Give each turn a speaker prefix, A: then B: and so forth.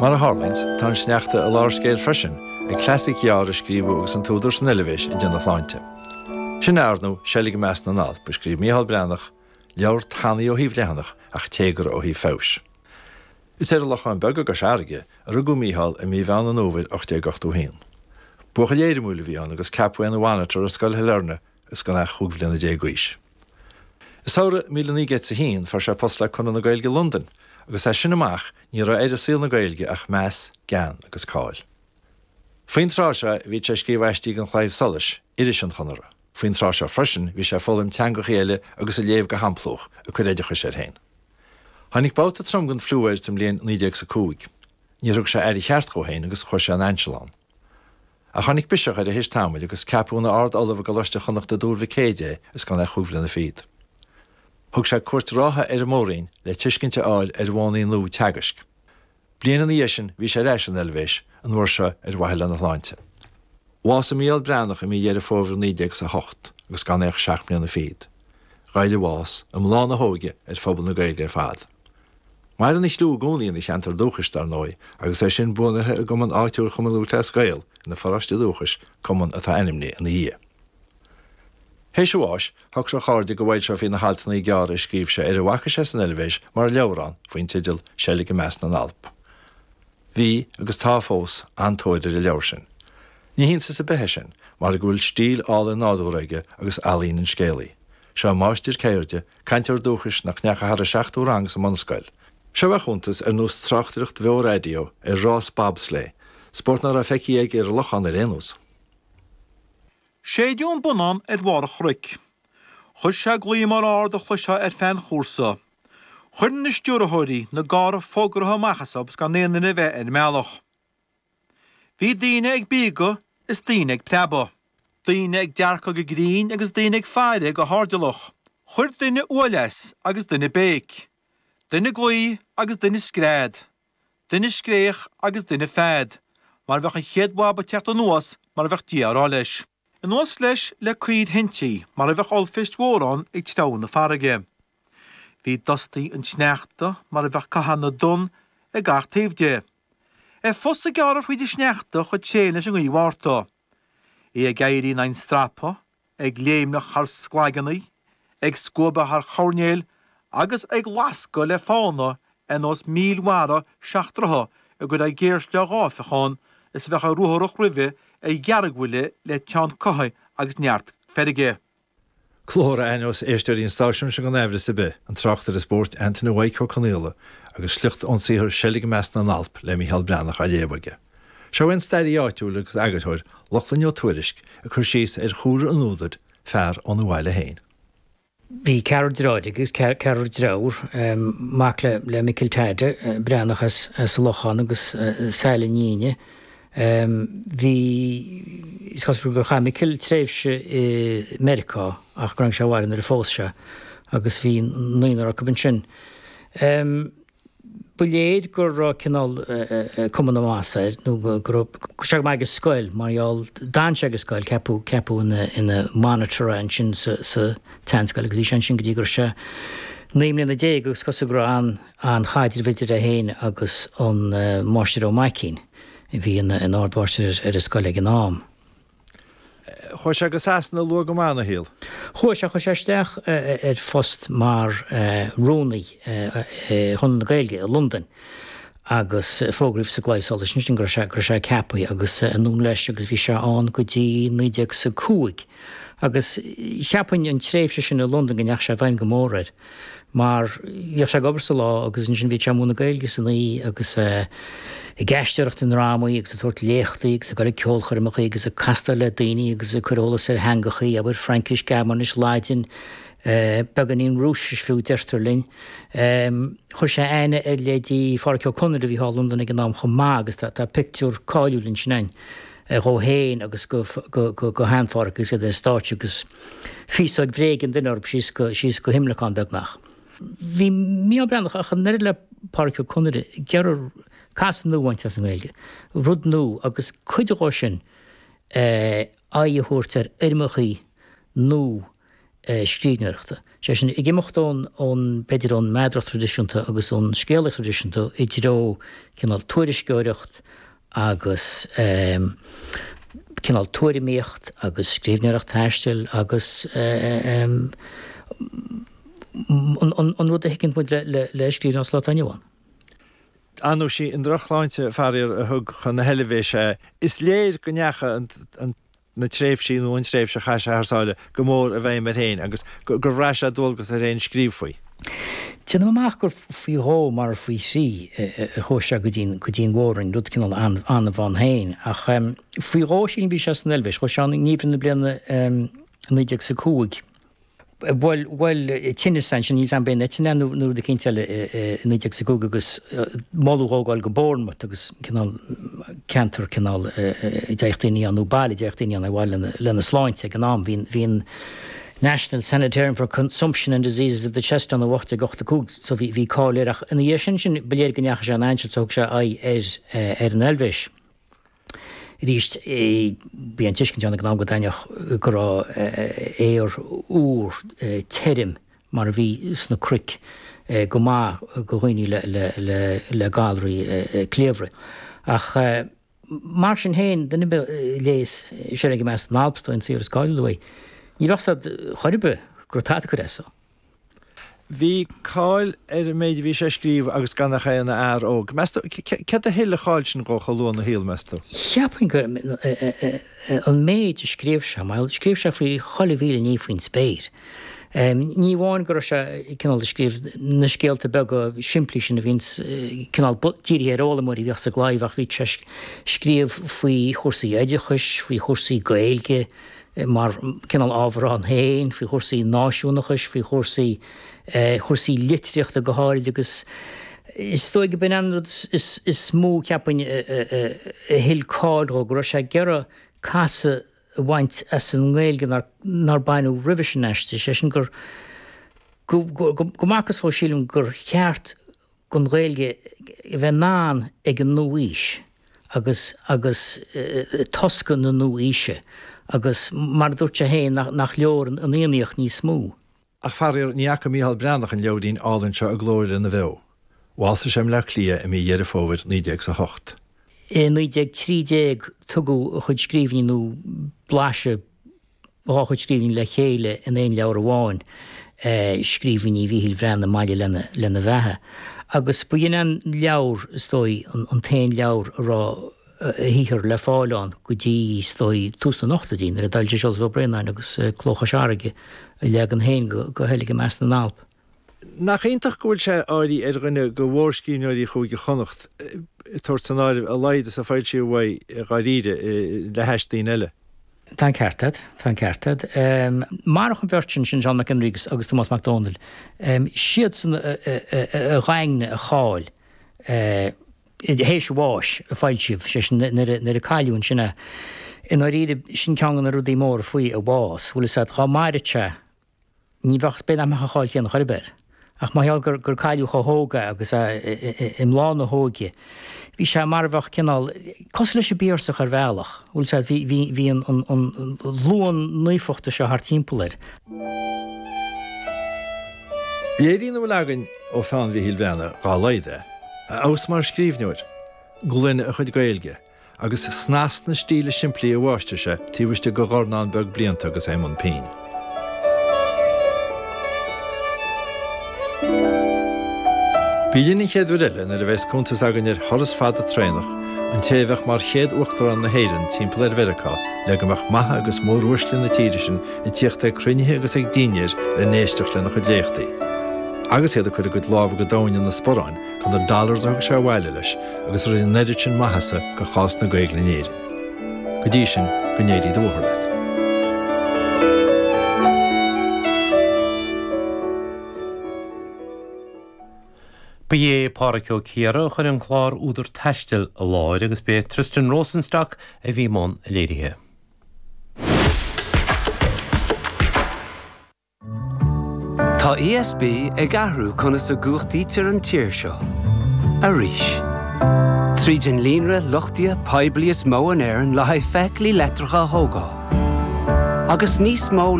A: Mar a tharlaíonns, tá an sneachta i lár scéil freisin, ag cleasaic ghearr a scríobhadh agus an t-údar san Eilvéis ag déanamh a shláinte. Sin é, ar ndóigh, Seilg i Measc na nAlp, a scríobh Micheál Breathnach, leabhar tanaí ó thaobh leathanach ach téagartha ó thaobh feabhais. Is ar an Lochán Beag i gCois Fharraige a rugadh Micheál i mí Mheán an Fhómhair 1881. Buachaill éirimiúil a bhí ann agus ceapadh é ina mhonitor ar Scoil Shailearna is gan ach chúig bhliana déag d'aois. I samhradh 1901 fuair sé post le Conradh na Gaeilge i Londain agus as sin amach ní raibh air i saol na Gaeilge ach meas, gean agus cáil. Faoin tráth seo bhíodh sé ag scríobh aistí don Chlaidheamh Soluis, iris an Chonartha. Faoin tráth seo freisin bhí sé ag foghlaim teangachaí eile agus ag léamh go hamplúch, ag cur oideachais air féin. Tháinig babhta trom den fliú air sa mbliain 1905. Níor thug sé aire cheart dhó féin agus chuir sé an ainseal ann. Ach tháinig biseach air théis tamaill agus ceapadh ina Ard-Ollamh i gColáiste Chonnacht i dTuar Mhic Éide é is gan é ach chúig bhliana fichead. Thug sé cuairt rátha ar an Mór-Roinn le tuiscint a fháil ar mhodhanna nua teagaisc. Bliain ina dhiaidh sin bhí sé ar ais san Eilvéis, an uair seo ar mhaithe lena shláinte. Bhásaigh Mícheál Breathnach i mí Dheireadh Fómhair 1908 agus gan é ach seacht mbliana fichead. Ghoill a bhás, i mbláth na hóige, ar phobal na Gaeilge ar fad. Maireann a chliú i gcónaí ina cheantar dúchais, dar ndóigh, agus é sin buanaithe i gcumann áitiúil Chumann Lúthchleas Gael ina pharóiste dúchais, cumann atá ainmnithe ina dhiaidh. Théis a bháis, shocraigh a chairde go bhfoilseofaí na haltanna gearra a scríobh sé ar a bhfaca sé san Eilvéis mar leabhrán faoin teideal Seilg i Measc na nAlp. Bhí, agus tá fós, an-tóir ar an leabhar sin. Ní hiontas ar bith é sin, mar go bhfuil stíl álainn nádúrtha aige agus ealaín an scéalaí. Seo máistir ceirde, cainteoir dúchais nach ndeachaigh thar an seachtú rang sa mbunscoil. Seo a chuntas, ar nós tráchtaireacht bheo raidió, ar rás bobsleigh, spórt ná raibh feicthe aige ar an Lochán ar aon nós.
B: Séideadh an bonnán ar bharr an chnoic. Chuir sé glaoch mór ard a chloisfeá ar feadh an chúrsa. Chuir na stiúrthóirí na gcarr fógartha amach as is gan aon duine a bheith ar an mbealach. Bhí daoine ag bíogadh is daoine ag preabadh, daoine ag dearcadh go grinn agus daoine ag faire go hairdeallach. Chuir duine uaille as agus duine béic, duine glao agus duine scread, duine scréach agus duine fead, mar a bheadh an chéad bhab ag teacht anuas mar a bheadh Dia á rá leis. Anuas leis le caor thintrí mar a bheadh ollpheist mhór ann ag treabhadh na farraige. Bhí dustaí an tsneachta mar a bheadh caitheamh na dtonn ag gach taobh de. A phus ag gearradh thríd an sneachta chomh tréan leis an ngaoth Mhárta. É ag éirí in aghaidh an strapa, ag léimneach thar sclaigeanna, ag scuabadh thar choirnéil agus ag lascadh le fána ar nós míl mhara seachtraithe ag goil ar ghéarshlia gáifeach ann is a bheadh ag ruatharach roimhe ar dheargbhuile le teann cuthaigh agus neart feirge.
A: Glór a aithneos éisteoirí an stáisiúin seo gan aimhreas ar bith, an tráchtaire spóirt Antaine Mhaidhc Ó Conaola agus sliocht ón saothar Seilg i Measc na nAlp le Mícheál Breathnach á léamh aige. Seo é an staraí áitiúil agus eagarthóir Lochlainn Ó Tuairisg ag cur síos ar chúlra an údair, fear óna bhaile féin.
C: Bhí ceathrar deartháir aige agus ceathrar deirfiúr, mac le Micil Teaide Breathnach as an Lochán agus Saile Níne. Bhí, is cosúil gur chaith Micil tréimhse i Meiriceá ach gur tháinig sé abhaile nuair a phós sé agus bhí naonúr acu ansin. Ba léir go raibh cineál cuma na maitheasa air nó go raibh sé go maith ag an scoil mar gheall, d'fhan sé ag an scoil, ceapadh, ceapadh ina, ina monitor é ansin sa, sa tseanscoil agus bhí sé ansin go dtí go raibh sé 19 mbliana agus cosúil go raibh an, an-chaidreamh idir é féin agus an Máistir Ó Maicín a bhí ina, ina ardmháistir ar, ar an scoil ag an am.
A: Chuaigh sé go Sasana luath go maith ina shaol.
C: Chuaigh sé, chuir sé isteach ar phost mar rúnaí Chonradh na Gaeilge i Londain agus fógraíodh sa gClaidheamh Soluis ansin go raibh sé, go raibh sé ceaptha agus anonn leis agus bhí sé ann go dtí 1905 agus cheapfainn an tréimhse sin i Londain go ndeachaigh sé i bhfeidhm go mór air. mar bhíodh sé ag obair sa lá agus ansin bhíodh sé ag múineadh Gaeilge san oíche agus ag aisteoireacht i ndrámaí agus ag tabhairt léachtaí agus ag dul ag ceolchoirmeacha agus ag castáil le daoine agus ag cur eolas ar theangachaí, abair, Fraincis, Gearmáinis, Laidin, beagáinín Rúisis fiú, deirtear linn. Chuir sé aithne ar leithéidí Phádraic Ó Conaire a bhí thall i Londain ag an am chomh maith agus tá pictiúr cáiliúil ansin ann dhó féin agus go shean-Phádraic agus iad ar an stáitse agus Féasóg bhréige an duine orthu síos go, síos go himleacán beagnach. Bhí Mícheál Breathnach ach an oiread le Pádraic Ó Conaire ag iarraidh casadh nua a bhaint as an nGaeilge, rud nua agus cuid dhó sin aghaidh a thabhairt ar fhoirmeachaí nua. scríbhneoireachta. Sé sin, ag imeacht ón, ón, b'fhéidir ón meadaracht traidisiúnta agus ón scéalaíocht traidisiúnta i dtreo cineál tuairisceoireacht agus cineál tuairimíocht agus scríbhneoireacht taistil agus an rud a thuigeann muid le le scríbhneoir sa lá atá inniu ann.
A: Ar ndóigh, sí an drochshláinte, faraor, a thug chun na hEilvéise é. Is léir go ndeachaigh an na tréimhsí nó an tréimhse a chaith sé thar sáile go mór i bhfeidhm air féin agus gur bhraith sé dualgas air féin scríobh faoi.
C: Déanaim amach gur faoi dhó mara faoi thrí a chuaigh sé go dtí go dtí an Mhór-Roinn, rud cineál annamh ann féin. Ach faoi dhó sílim bhí sé san Eilvéis. Chuaigh sé ann i ngeimhreadh na bliana 1905. Bhuail, bhuail tinneas ansin, níl 's a'm ab é an eitinn é nó rud eicínt eile i 1905 agus moladh dhó gabháil go Bournemouth agus cineál ceantar cineál a dtéadh daoine ann nó baile a dtéadh daoine ann ar mhaithe lena, lena sláinte ag an am. Bhí, bhí an National Sanitarium for Consumption and Diseases of the Chest ann ó 1885 so bhí, bhí cáil air ach ina dhiaidh sin sin ba léir go ndeachaigh sé in ainseal so thug sé aghaidh ar, ar an Eilvéis. Arís, bhí an tuiscint ann ag an am go dtaitneodh, go raibh aer úr tirim mar a bhí sna cnoic go maith do dhaoine le galraí cliabhraigh. Ach mar sin féin, duine ar bith a léas Seilg i Measc na nAlp, is dóigh an saothar is cáiliúla uaidh, ní bheadh 's a'd chor ar bith go raibh tada ag cur as dó.
A: Bhí cáil ar an méid a bhí sé ag scríobh agus gan ach é ina fhear óg. Meas tú, céard a thuill an cháil sin dhó chomh luath ina shaol, meas tú?
C: Cheapfainn gur an méid a scríobh sé, mar scríobh sé faoi chuile mhíle ní faoin spéir. Ní amháin go raibh sé cineál ag scríobh na scéalta beaga simplí sin a bhíonns cineál dírithe ar fhoghlaimeoirí a bhíodh sa gClaidheamh ach bhí sé ag scríobh faoi chúrsaí oideachais, faoi chúrsaí Gaeilge, mar cineál ábhar ann féin, faoi chúrsaí náisiúnachais, faoi chúrsaí, chúrsaí litríochta go háirid agus is dóigh go b'in an rud is mó, cheapfainn, a thuill cáil dhó, go raibh sé ag iarraidh casadh a bhaint as an nGaeilge nár baineadh roimhe sin aisti, sé sin gur, go, go, go mb'fhacthas dhó, sílim, gur cheart don Ghaeilge a bheith in ann ag an nua-aois agus agus tosca na nua-aoise agus mar a dúirt sé féin nach leor an Fhiannaíocht níos mó.
A: Ach faraor, ní fhaca Mícheál Breathnach an leabhairín álainn seo i gcló lena bheo. Bhásaigh sé i mBleá Cliath i mí Dheireadh Fómhair 1908.
C: I 1913 tugadh a chuid scríbhinní nó blaiseadh dhá chuid scríbhinní le chéile in aon leabhar amháin, Scríbhinní Mhíchíl Bhreathnaigh maille lena bheatha. Agus ba shin an leabhar, is dóigh, an t-aon leabhar a raibh a shaothar le fáil ann go dtí, is dóigh, tús na n-ochtóidí, nuair a d'fhoilsigh Seosamh Ó Braonáin agus Cló Chois Fharraige a leagan féin de Sheilg i Measc na nAlp.
A: Nach iontach go bhfuil sé áirithe ar dhuine de mhórscríbhneoirí Chúige Chonnacht, ag tabhairt san áireamh a laghad is a foilsíodh uaidh, dháiríre, le hais daoine eile.
C: Tá an ceart agat, tá an ceart agat. Marach an bheirt sin, sin Seán Mac Fhionnriagh agus Tomás Mac Domhnaill, siadsan a dhaingnigh a cháil théis a bháis, a foilsíodh, sé sin nuair a cailleadh ansin é. I ndáiríre, sin ceann de na rudaí móra faoi a bhás, bhfuil fhios agat, dhá maireadh sé, Ní bheadh, b'fhéidir nach mbeadh an cháil chéanna chor ar bith air. Ach mar gheall gur, gur cailleadh chomh hóg é agus é i mbláth na hóige, bhí sé mar a bheadh cineál, cosúil leis an bPiarsach ar bhealach, bhfuil fhios agat, bhí, bhí, bhí an, an, an luan naofachta seo thart timpeall air.
A: Léiríonn a bhfuil againn ó pheann Mhíchíl Bhreathnaigh dhá laghad é, a fheabhas mar scríbhneoir, glaine a chuid Gaeilge, agus snas na stíle simplí a mháistir sé taobh istigh de dhornán beag blianta agus é i mbun pinn. Bí linn an chéad uair eile nuair a bheas cuntas againn ar thuras fada traenach an té a bheadh mar chéad Uachtarán na hÉireann timpeall ar Mheiriceá le go mbeadh maithe agus móruaisle na tíre sin ag tíocht ag cruinnithe agus ag dinnéir le n-éisteacht lena chuid léachtaí. Agus iad ag cur a gcuid lámha go domhain ina sparáin chun na dollars a thug sé abhaile leis agus a rinne an oiread sin maitheasa do chás na Gaeilge in Éirinn. Go dtí sin, go n-éirí do bhóthar leat.
D: Ba é Pádraic Ó Ciardha a chuir an clár Údar Taistil i láthair agus b'é Tristan Rosenstock a bhí i mbun léirithe.
E: Tá ESB ag athrú conas a gcumhachtaítear an tír seo. Arís. Tríd an líonra luchtaithe poiblí is mó in Éirinn le haghaidh feithiclí leictreacha a thógáil. Agus níos mó.